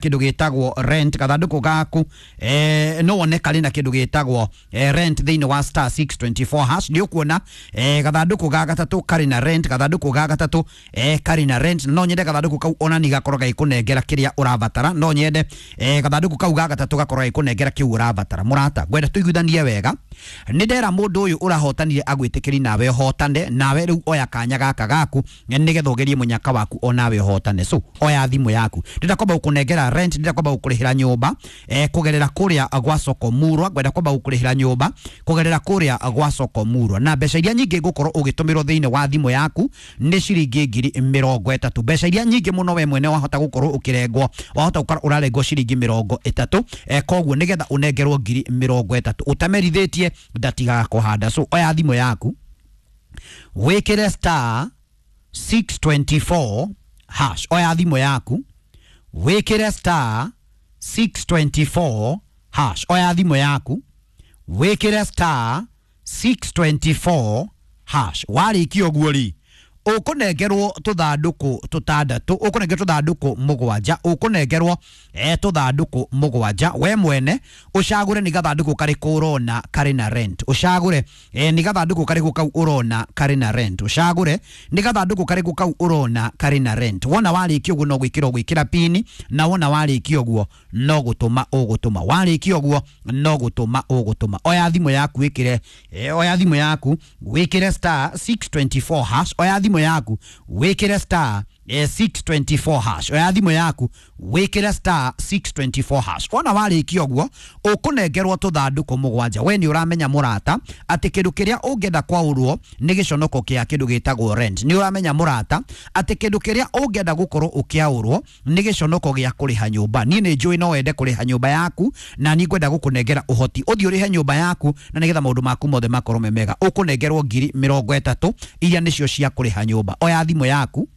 Kindu gitagwo rent gathanduku gaku no wone kari na kindu gitagwo rent thiini wa star 624 hash. Ni ukuona gathanduku ga gatatu kari na rent, gathanduku ga gatatu kari na rent. No nyende gathanduku kau ona ni gakorwo gagĩkũnengera kĩrĩa ũrabatara. No nyende gathanduku kau ga gatatu gakorwo gagĩkũnengera kĩu ũrabatara. Mũrata, ngwenda tũiguithanie wega. Nĩ ndera mũndũ ũyũ ũrahotanire agwĩtĩkĩri nawe ũhotane. Nawe rĩu oya kanya gaka gaku nĩgetha ũgerie mũnyaka waku onawe ũhotane. So oya thimũ yaku, ndĩrenda kwamba gũkũnengera rent, ndĩrenda kwamba gũkũrĩhĩra nyũmba kũgerera kũrĩa gwa soko murwa. Ngwenda kwamba gũkũrĩhĩra nyũmba kũgerera kũrĩa gwa soko murwa, na mbeca iria nyingĩ ngũkorwo ũgĩtũmĩrwo thĩinĩ wa thimũ yaku nĩ ciringi 30,000. Mbeca iria nyingĩ mũno we mwene wahota gũkorwo ũkĩrengwo, wahota gũkorwo ũrarengwo ciringi 30. Koguo nĩgetha ũnengerwo 30,000 ũtamerithĩtie ndatigaga kũhanda. So oya thimũ yaku, wĩkĩre star 624 hash. Oya thimũ yaku, wĩkĩre star 624 hash. Oya thimũ yaku, wĩkĩre star 624 hash. Warĩkia ũguo rĩ, ũkũnengerwo tũthandũkũ tũtandatũ, ũkũnengerwo tũthandũkũ mũgwanja, ũkũnengerwo tũthandũkũ mũgwanja. We mwene ũcagũre nĩ gathandũkũ karĩkũ ũrona karĩ na rent. Ũcagũre nĩ gathandũkũ karĩkũ kau ũrona karĩ na rent. Ũcagũre nĩ gathandũkũ karĩkũ kau ũrona karĩ na rent. Wona warĩkia ũguo no gwĩkĩra ũgwĩkĩra pini, na wona warĩkia ũguo no gũtũma ũgũtũma. Warĩkia ũguo no gũtũma ũgũtũma. Oya thimũ yaku wĩkĩre oya thimũ yaku wĩkĩre star 624 hash. Oya thimũ yaku wĩkĩre star 624 hash. Oya thimũ yaku wĩkĩre star 624 hash. Wona warĩkia ũguo ũkũnengerwo tũthandũkũ mũgwanja. We nĩ ũramenya mũrata atĩ kĩndũ kĩrĩa ũngĩenda kwaũrwo nĩ gĩconoko kĩa kĩndũ gĩtagwo rent. Nĩ ũramenya mũrata atĩ kĩndũ kĩrĩa ũngĩenda gũkorwo ũkĩaũrwo nĩ gĩconoko gĩa kũrĩha nyũmba. Niĩ nĩ njũĩ no wende kũrĩha nyũmba yaku, na niĩ ngwenda gũkũnengera ũhoti ũthiĩ ũrĩhe nyũmba yaku na nĩgetha maũndũ maku mothe makorwo me mega. Ũkũnengerwo 30,000 iria nĩcio cia kũrĩha nyũmba. Oya thimũ yaku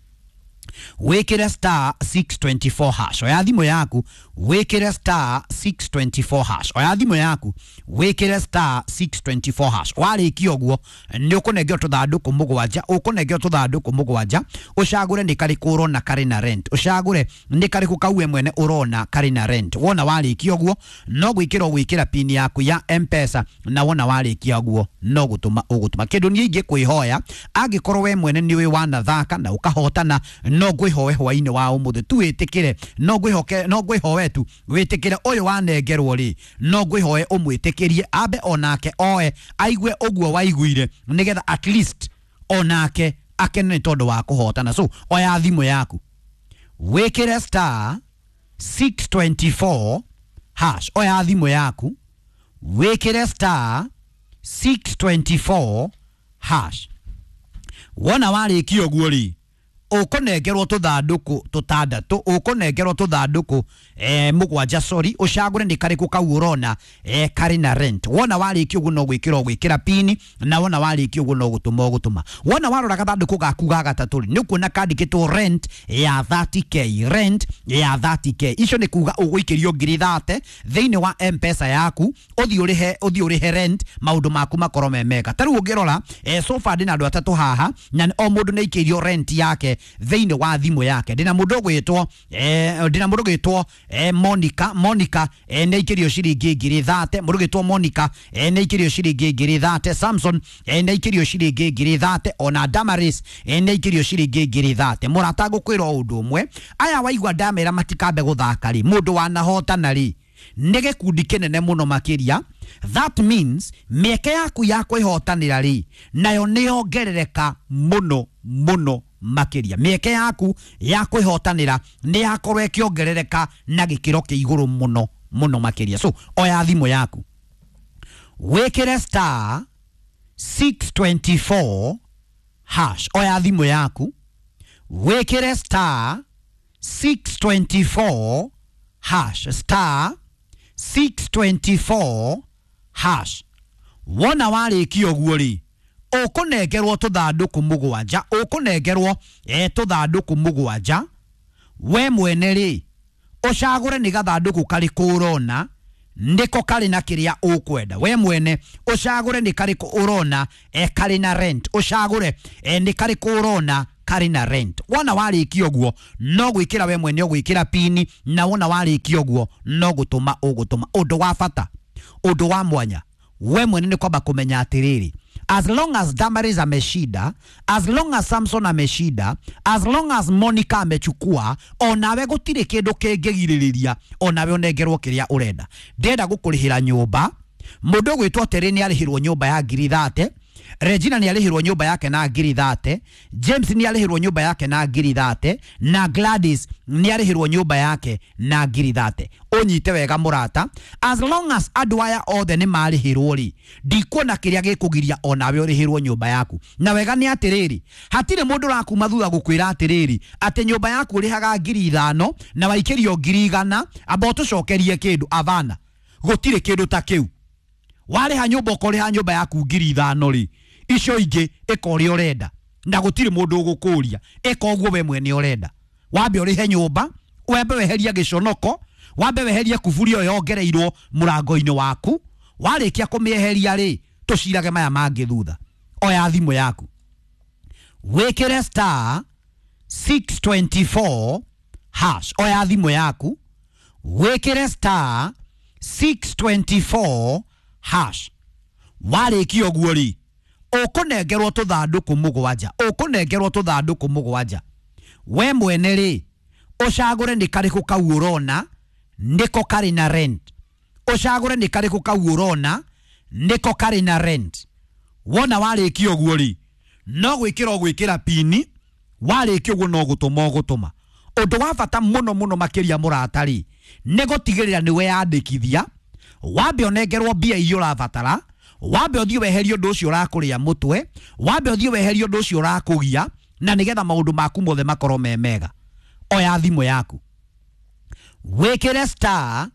wĩkĩre star 624 hash. Oya thimũ yaku wĩkĩre star 624 hash. Oya thimũ yaku wĩkĩre star 624 hash. Warĩkia ũguo nĩ ũkũnengerwo tũthandũkũ mũgwanja, ũkũnengerwo tũthandũkũ mũgwanja. Ũcagũre nĩ karĩkũ ũrona karĩ na rent. Ũcagũre nĩ karĩkũ kau we mwene ũrona karĩ na rent. Wona warĩkia ũguo no gwĩkĩra ũgwĩkĩra pini yaku ya M-Pesa, na wona warĩkia ũguo no gũtũma ũgũtũma. Kĩndũ niĩ ingĩkwĩhoya, angĩkorwo we mwene nĩ ũĩ wanathaka na ũkahotana, no ngwĩhoe hwainĩ wa ũmũthĩ tu wĩtĩkĩre, no ngwĩhoke, no ngwĩhoe tu wĩtĩkĩre ũyũ wanengerwo rĩ, no ngwĩhoe ũmwĩtĩkĩrie ambe onake oe aigue ũguo waiguire, nĩgetha at least onake akene nĩ tondũ wa kũhotana. So oya thimũ yaku wĩkĩre star 624 hash. Oya thimũ yaku wĩkĩre star 624 hash. Wona warĩkia ũguo rĩ, ũkũnengerwo tũthandũkũ tũtandatũ, ũkũnengerwo tũthandũkũ mũgwanja, sorry. Ũcagũre nĩ karĩkũ kau ũrona karĩ na rent. Wona warĩkia ũguo no gwĩkĩra ũgwĩkĩra pini, na wona warĩkia ũguo no gũtũma ũgũtũma. Wona warora gathandũkũ gaku ga gatatũ rĩ, nĩ ũkuona kandĩkĩtwo rent ya 30K, rent ya 30K. Icio nĩ kuga ũgũikĩrio 30,000 thĩinĩ wa M-Pesa yaku, ũthiĩ ũrĩhe, ũthiĩ ũrĩhe rent, maũndũ maku makorwo me mega. Ta rĩu ũngĩrora so far ndĩna andũ atatũ haha, na o mũndũ nĩ aikĩirio rent yake thĩinĩ wa thimũ yake. Ndĩna mũndũ ũgwĩtwo ndĩna mũndũ ũgwĩtwo Monica. Monica nĩ aikĩrio ciringi 30,000. Mũndũ ũgwĩtwo Monica nĩ aikĩrio ciringi 30,000. Samson nĩ aikĩrio ciringi 30,000. Ona Damaris nĩ aikĩrio ciringi 30,000. Mũrata, ngũkwĩra o ũndũ ũmwe, aya waigua ndamera matikambe gũthaka rĩ, mũndũ wanahotana rĩ, nĩ gĩkundi kĩnene mũno makĩria. That means mĩeke yaku ya kwĩhotanĩra rĩ, nayo nĩ yongerereka mũno mũno makĩria. Mĩeke yaku ya kwĩhotanĩra nĩ yakorwo ĩkĩongerereka na gĩkĩro kĩa igũrũ mũno mũno makĩria. So oya thimũ yaku wĩkĩre star 624 hash. Oya thimũ yaku wĩkĩre star 624 hash, star 624 hash. Wona warĩkia ũguo rĩ, ũkũnengerwo tũthandũkũ mũgwanja, ũkũnengerwo tũthandũkũ mũgwanja. We mwene rĩ, ũcagũre nĩ gathandũkũ karĩkũ ũrona nĩko karĩ na kĩrĩa ũkwenda. We mwene ũcagũre nĩ karĩkũ ũrona karĩ na rent. Ũcagũre nĩ karĩkũ ũrona karĩ na rent. Wona warĩkia ũguo no gwĩkĩra we mwene ũgwĩkĩra pini, na wona warĩkia ũguo no gũtũma ũgũtũma. Ũndũ wa bata, ũndũ wa mwanya, we mwene nĩ kwamba kũmenya atĩrĩrĩ, as long as Damaris ameshinda, as long as Samson ameshinda, as long as Monica amechukua, onawe gũtirĩ kĩndũ kĩngĩgirĩrĩria onawe ũnengerwo kĩrĩa ũrenda. Ndĩrenda gũkũrĩhĩra nyũmba. Mũndũ ũgwĩtwo Terĩ nĩ arĩhĩrwo nyũmba ya 30,000, Regina nĩ arĩhĩrwo nyũmba yake na 30,000, James nĩ arĩhĩrwo nyũmba yake na 30,000, na Gladys nĩ arĩhĩrwo nyũmba yake na 30,000. Ũnyite wega mũrata, as long as andũ aya othe nĩ marĩhĩrwo rĩ, ndikuona kĩrĩa gĩkũgiria onawe ũrĩhĩrwo nyũmba yaku. Na wega nĩ atĩrĩrĩ, hatirĩ mũndũ ũrakuma thutha gũkwĩra atĩrĩrĩ atĩ nyũmba yaku ũrĩhaga 5,000 na waikĩrio 100,000, amba ũtũcokerie kĩndũ. Avana, gũtirĩ kĩndũ ta kĩu. Warĩha nyũmba ũkorĩha nyũmba yaku 5,000 rĩ, icio ingĩ ĩka ũrĩa ũrenda, na gũtirĩ mũndũ ũgũkũria, ĩka ũguo we mwene ũrenda. Wambe ũrĩhe nyũmba, wambe weherie gĩconoko, wambe weherie kuburi ĩyo yongereirwo mũrango-inĩ waku. Warĩkia kũmĩeheria rĩ, tũcirage maya mangĩ thutha. Oya thimũ yaku, wĩkĩre star 624 hash. Oya thimũ yaku, wĩkĩre star 624 hash. Warĩkia ũguo rĩ, ũkũnengerwo tũthandũkũ mũgwanja, ũkũnengerwo tũthandũkũ mũgwanja. We mwene rĩ, ũcagũre nĩ karĩkũ kau ũrona nĩko karĩ na rent. Ũcagũre nĩ karĩkũ kau ũrona nĩko karĩ na rent. Wona warĩkia ũguo rĩ, no gwĩkĩra ũgwĩkĩra pini, warĩkia ũguo no gũtũma ũgũtũma. Ũndũ wa bata mũno mũno makĩria mũrata rĩ, nĩ gũtigĩrĩra nĩ weyandĩkithia, wambe ũnengerwo mbia iria ũrabatara, wambe ũthiĩ weherie ũndũ ũcio ũrakũrĩa mũtwe, wambe ũthiĩ weherie ũndũ ũcio ũrakũgia, na nĩgetha maũndũ maku mothe makorwo me mega. Oya thimũ yaku, wĩkĩre star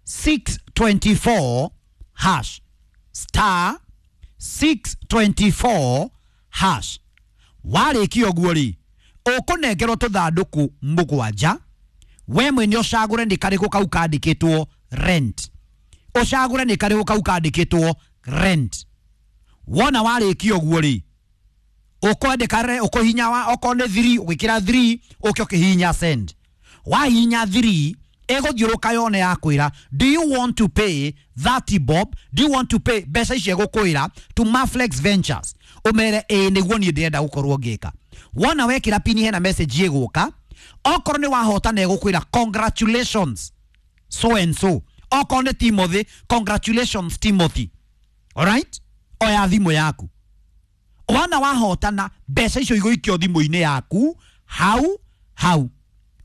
624 hash, star 624 hash. Warĩkia ũguo rĩ, ũkũnengerwo tũthandũkũ mũgwanja. We mwene ũcagũre nĩ karĩkũ kau kandĩkĩtwo rent. Ũcagũre nĩ karĩkũ kau kandĩkĩtwo rent. Wona warĩkia ũguo rĩ, ũkwandĩka ũkũhinya wa okorwo nĩ 3 ũgĩkĩra 3 ũke ũkĩhihinya send. Wahihinya 3 ĩgũthiũrũka yone ya kwĩra, do you want to pay 30 bob, do you want to pay mbeca icio ĩgũkwĩra to Maflex Ventures, ũmere ĩĩ nĩguo niĩ ndĩrenda gũkorwo ngĩka. Wona wekĩra pini hena message ĩgũka, okorwo nĩ wahotana ĩgũkwĩra congratulations so and so, okorwo nĩ Timothy, congratulations Timothy. Alright, oya thimũ yaku. Wona wahotana mbeca icio igũikio thimũ-inĩ yaku hau hau.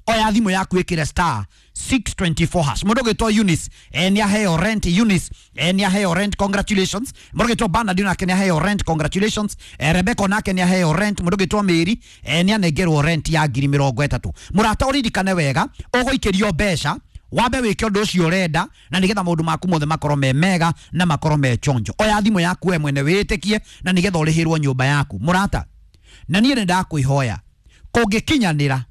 Oya thimũ yaku ĩkĩre star 624 hash. Mũndũ ũgwĩtwo Eunice nĩ aheo rent. Eunice nĩ aheo rent, congratulations. Mũndũ ũgwĩtwo Bernard nake nĩ aheo rent, congratulations. Rebecca nake nĩ aheo rent. Mũndũ ũgwĩtwo Mary nĩ anengerwo rent ya 30,000. Mũrata ũririkane wega, ũgũikĩrio mbeca wambe wĩke ũndũ ũcio ũrenda, na nĩgetha maũndũ maku mothe makorwo me mega na makorwo me chonjo. Oya thimũ yaku we mwene wĩtĩkie, na nĩgetha ũrĩhĩrwo nyũmba yaku. Mũrata, na niĩ nĩ ndakwĩhoya, kũngĩkinyanĩra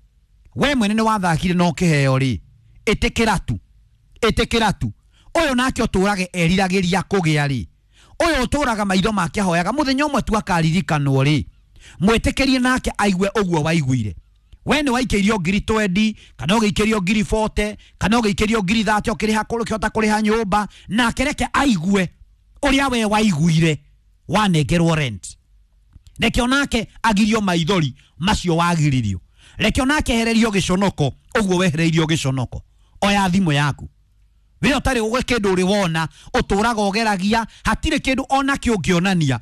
we mwene nĩ wathakire na ũkĩheo rĩ, ĩtĩkĩra tu, ĩtĩkĩra tu. Ũyũ nake ũtũrage eriragĩria kũgĩa rĩ, ũyũ ũtũraga maitho make ahoyaga mũthenya ũmwe tu akaririkanwo rĩ, mwĩtĩkĩrie nake aigue ũguo waiguire. We nĩ waikĩirio 20,000 kana ũgĩikĩrio 40,000 kana ũgĩikĩrio 30,000 ũkĩrĩha ũkĩhota kũrĩha nyũmba, nake reke aigue ũrĩa we waiguire wanengerwo rent. Reke onake agirio maithori macio wagiririo, reke onake ehererio gĩconoko ũguo wehereirio gĩconoko. Oya thimũ yaku, we ũtarĩ ũgwe kĩndũ ũrĩ wona, ũtũraga ũgeragia, hatirĩ kĩndũ ona kĩ ũngĩonania,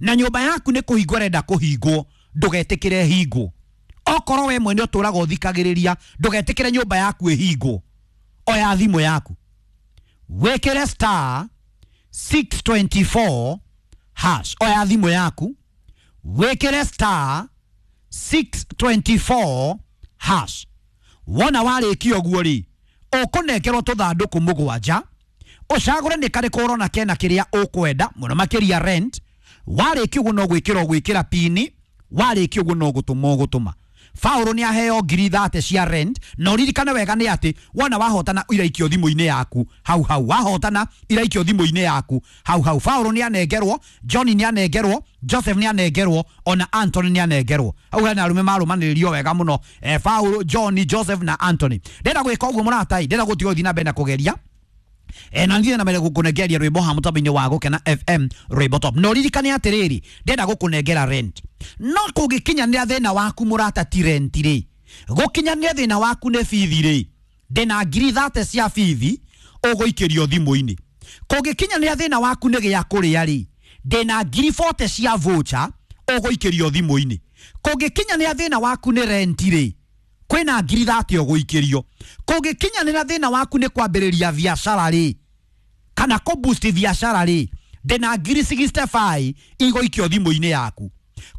na nyũmba yaku nĩ kũhingwo ĩrenda kũhingwo, ndũgetĩkĩre hingwo. Okorwo we mwene ũtũraga ũthikagĩrĩria, ndũgetĩkĩre nyũmba yaku ĩhingwo. Oya thimũ yaku, wĩkĩre star 624 hash. Oya thimũ yaku, wĩkĩre star 624 hash. Wona warĩkia ũguo rĩ, ũkũnengerwo tũthandũkũ mũgwanja, ũcagũre nĩ karĩkũ ũrona kena kĩrĩa ũkwenda mũno makĩria rent. Warĩkia ũguo no gwĩkĩra ũgwĩkĩra pini, warĩkia ũguo no gũtũma ũgũtũma. Paul nĩ aheo 30,000 cia rent. Na ũririkane wega nĩ atĩ wona wahotana iraikio thimũ-inĩ yaku hau hau, wahotana iraikio thimũ-inĩ yaku hau hau. Paul nĩ anengerwo, Johnny nĩ anengerwo, Joseph nĩ anengerwo, ona Anthony nĩ anengerwo. Hau hena arume marũmanĩrĩrio wega mũno, Paul, Johnny, Joseph na Anthony. Ndĩrenda gwĩka ũguo mũratai, ndĩrenda gũtiga ũthiĩ na mbere na kũgeria. Na nginya na mbere gũkũnengeria rwĩmbo ha mũtambo-inĩ wa Gũkena FM rwĩmbo top. Na ũririkane atĩrĩrĩ, ndĩrenda gũkũnengera rent, no kũngĩkinyanĩra thĩna waku mũrata ti rent rĩ, gũkinyanĩra thĩna waku nĩ bithi rĩ, ndĩna 30,000 cia bithi ũgũikĩrio thimũ-inĩ. Kũngĩkinyanĩra thĩna waku nĩ gĩa kũrĩa rĩ, ndĩna 40,000 cia voucher ũgũikĩrio thimũ-inĩ. Kũngĩkinyanĩra thĩna waku nĩ rent rĩ, kwĩna 30,000 ũgũikĩrio. Kũngĩkinyanĩra thĩna waku nĩ kwambĩrĩria biacara rĩ, kana kũ boost biacara rĩ, ndĩna 65,000 igũikio thimũ-inĩ yaku.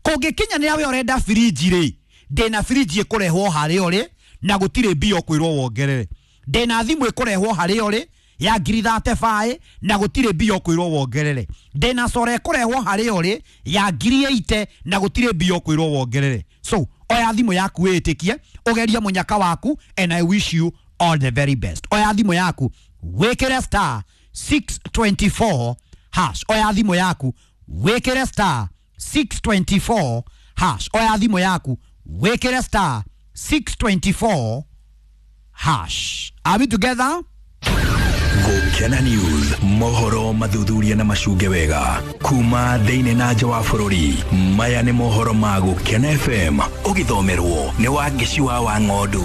Kũngĩkinyanĩra we ũrenda firiji rĩ, ndĩna firiji ĩkũrehwo harĩa ũrĩ na gũtirĩ mbia ũkwĩrwo wongerere. Ndĩna thimũ ĩkũrehwo harĩa ũrĩ ya 35,000 na gũtirĩ mbia ũkwĩrwo wongerere. Ndĩna sora ĩkũrehwo harĩa ũrĩ ya 80,000 na gũtirĩ mbia ũkwĩrwo wongerere. So oya thimũ yaku wĩtĩkie, ũgerie mũnyaka waku, and I wish you all the very best. Oya thimũ yaku wĩkĩre star 624 hash. Oya thimũ yaku wĩkĩre star 624 hash. Oya thimũ yaku wĩkĩre star 624 hash. Are we together? Gũkena News, mohoro mathuthuria na macunge wega kuma thĩinĩ na nja wa bũrũri. Maya nĩ mohoro ma Gũkena FM, ũgĩthomerwo nĩ Wangeci wa Wang'ondu.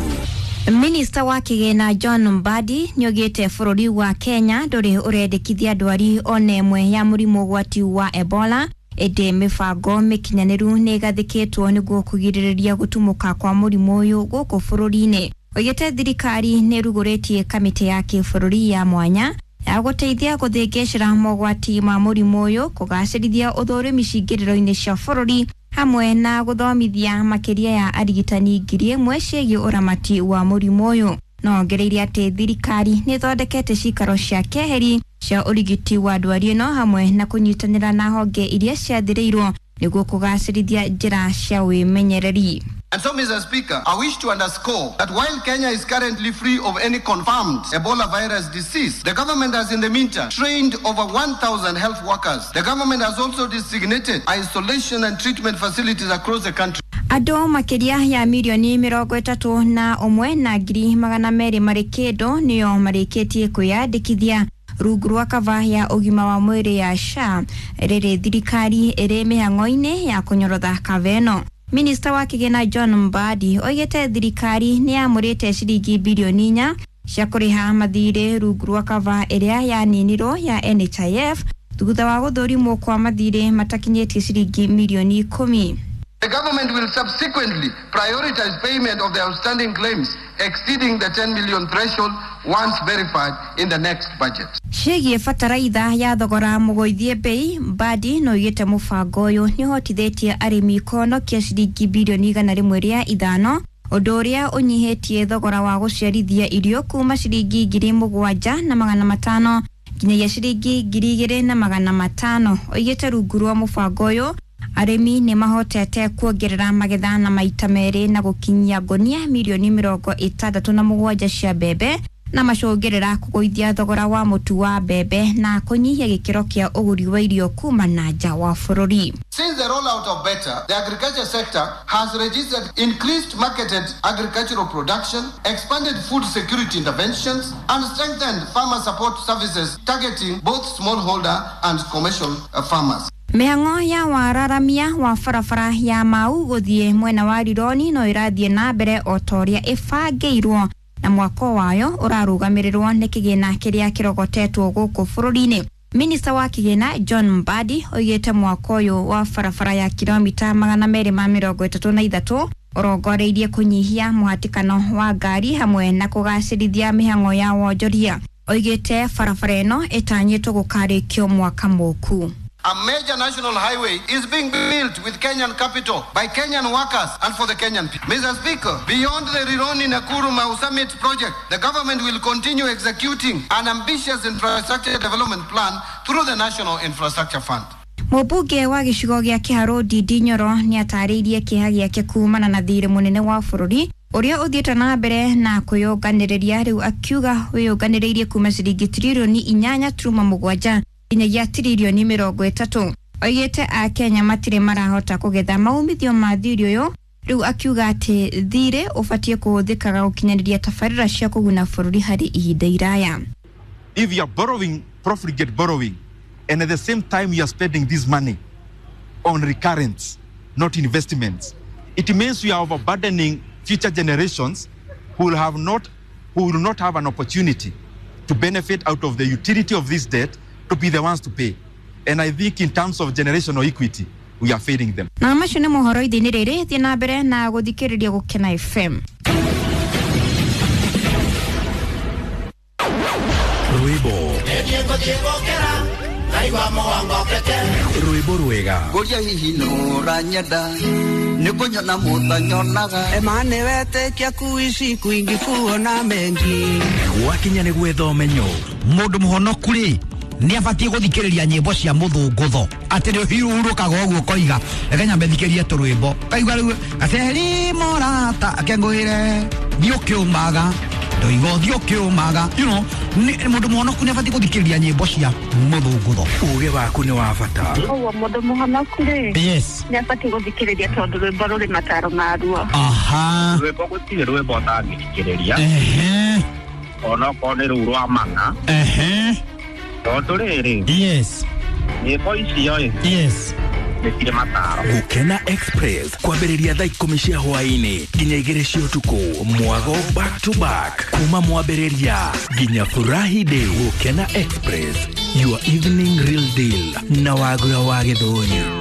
Minista wa kĩgĩna John Mbadi nĩoigĩte bũrũri wa Kenya ndũrĩ ũrendekithia ndwari ona ĩmwe ya mũrimũ ũgwati wa Ebola, ĩndĩ mĩbango mĩkinyanĩru nĩ ĩgathĩkĩtwo nĩguo kũgirĩrĩria gũtumũka kwa mũrimũ ũyũ gũkũ bũrũri-inĩ. Oigĩte thirikari nĩ ĩrugũrĩtie kamĩtĩ ya kĩbũrũri ya mwanya ya gũteithia gũthĩngĩcĩra mogwati ma mũrimũ ũyũ, kũgacĩrithia ũthũrimi cingĩrĩro-inĩ cia bũrũri, hamwe na gũthomithia makĩria ya arigitani 1,000 ciĩgiĩ ũramati wa mũrimũ ũyũ. No ongereire atĩ thirikari nĩ ĩthondekete cikaro cia keheri cia ũrigiti wa ndwari ĩno hamwe na kũnyitanĩra na honge iria ciathĩrĩirwo nĩguo kũgacĩrithia njĩra cia wĩmenyereri. And so, Mr. Speaker, I wish to underscore that while Kenya is currently free of any confirmed Ebola virus disease, the government has in the meantime trained over 1,000 health workers. The government has also designated isolation and treatment facilities across the country. Andũ makĩria ya mirioni 31,200,000 marĩ kĩndũ nĩo marĩkĩtie kwĩyandĩkithia rungu rwa kava ya ũgima wa mwĩrĩ ya SHA, rĩrĩ thirikari ĩrĩ mĩhang'o-inĩ ya kũnyorotha kava ĩno. Minista wa kĩgĩna John Mbadi oigĩte thirikari nĩ yamũrĩte ciringi birioni 4 cia kũrĩha mathirĩ rungu rwa kava ĩrĩa yaninirwo ya NHIF thutha wa gũthũrimwo kwa mathirĩ matakinyĩtie ciringi mirioni 10. The government will subsequently prioritize payment of the outstanding claims exceeding the 10 million threshold once verified in the next budget. Ciĩgiĩ bataraitha ya thogora mũgũithie bei, Mbadi no oigĩte mũbango ũyũ nĩ ũhotithĩtie arĩmi kũhonokia ciringi birioni 105, ũndũ ũrĩa ũnyihĩtie thogora wa gũciarithia irio kuma ciringi 7,500 nginyagia ciringi 2,500. Oigĩte rungu rwa mũbango ũyũ arĩmi nĩ mahotete kuongerera magetha na maita merĩ na gũkinyia ngonia mirioni 67 cia mbembe, na macũngĩrĩra kũgũithia thogora wa mũtu wa mbembe na kũnyihia gĩkĩro kĩa ũgũri wa irio kuma na nja wa bũrũri. Since the rollout of BETA, the agriculture sector has registered increased marketed agricultural production, expanded food security interventions, and strengthened farmer support services targeting both smallholder and commercial farmers. Mĩhang'o ya wararamia wa barabara ya Mau gũthiĩ mwena wa Rironi no ĩrathiĩ na mbere o ta ũrĩa ĩbangĩirwo, na mwako wayo ũrarũgamĩrĩrwo nĩ kĩgĩna kĩrĩa kĩrogotetwo gũkũ bũrũri-inĩ. Minista wa kĩgĩna John Mbadi oigĩte mwako ũyũ wa barabara ya kilomita 233 ũrongoreirie kũnyihia mũhatĩkano wa ngari hamwe na kũgacĩrithia mĩhang'o ya wonjoria. Oigĩte barabara ĩno ĩtanyĩtwo gũkarĩkio mwaka mũku. A major national highway is being built with Kenyan capital, by Kenyan workers, and for the Kenyan people. Mr. Speaker, beyond the Rironi Nakuru Mau Summit project, the government will continue executing an ambitious infrastructure development plan through the National Infrastructure Fund. Mũmbunge wa gĩcigo gĩa Kĩharũ Ndindi Nyoro nĩatarĩirie kĩeha gĩake kumana na thirĩ mũnene wa bũrũri ũrĩa ũthiĩte na mbere na kwĩyũnganĩrĩria, rĩu akiuga wĩyũnganĩrĩirie kuma ciringi tiririoni 8.7 nginyagia tiririoni 30. Oigĩte Akenya matirĩ marahota kũgetha maumithio ma thirĩ ũyũ, rĩu akiuga atĩ thirĩ ũbatiĩ kũhũthĩkaga gũkinyanĩria tabarĩra cia kũguna bũrũri harĩ ihinda iraya. If you are borrowing, profligate borrowing, and at the same time you are spending this money on recurrence, not investments, it means we are overburdening future generations who will not have an opportunity to benefit out of the utility of this debt to be the ones to pay. And I think in terms of generational equity, we are failing them. Na macio nĩ mohoro ithĩ-inĩ rĩrĩ, thiĩ na mbere na gũthikĩrĩria Gũkena FM. Rwĩmbo rwĩmbo rwega. Ngũria hihi nũranyenda nĩ kũnyona mũtanyonaga. Emane wetĩkia kuishi kwingi kuona mengi. Gwakinya nĩ gwetha ũmenyo. Mũndũ mũhonoku rĩ nĩ abatiĩ gũthikĩrĩria nyĩmbo cia mũthũngũtho, atĩ nĩ ũhurũkaga ũguo ũkoiga reke nyambe thikĩrie tũrwĩmbo, kaigua rĩu gaceri morata akengũĩre thiĩ ũkĩũmaga ndoiga ũthiĩ ũkĩũmaga, you know, mũndũ mũhonoku nĩ abatiĩ gũthikĩrĩria nyĩmbo cia mũthũngũtho. Uge waku nĩ wa bata. Ũguo mũndũ mũhonoku rĩ, yes, nĩ abatiĩ gũthikĩrĩria tondũ rwĩmbo rũrĩ mataro maruo. Aha. Rwĩmbo gũtirĩ rwĩmbo ũtangĩthikĩrĩria. Ehe. Onokorwo nĩ rũu rwa mana. Ehe. Tondũ rĩrĩ, yes, nyĩmbo icio ĩ, yes, nĩ cirĩ mataro. Gũkena Express kwambĩrĩria thaa 10 cia hwaĩ-inĩ nginya 2 cia ũtukũ, mwago back to back kuma mwambĩrĩria nginya furahi day. Gũkena Express, your evening real deal na Wagura wa Gĩthũri.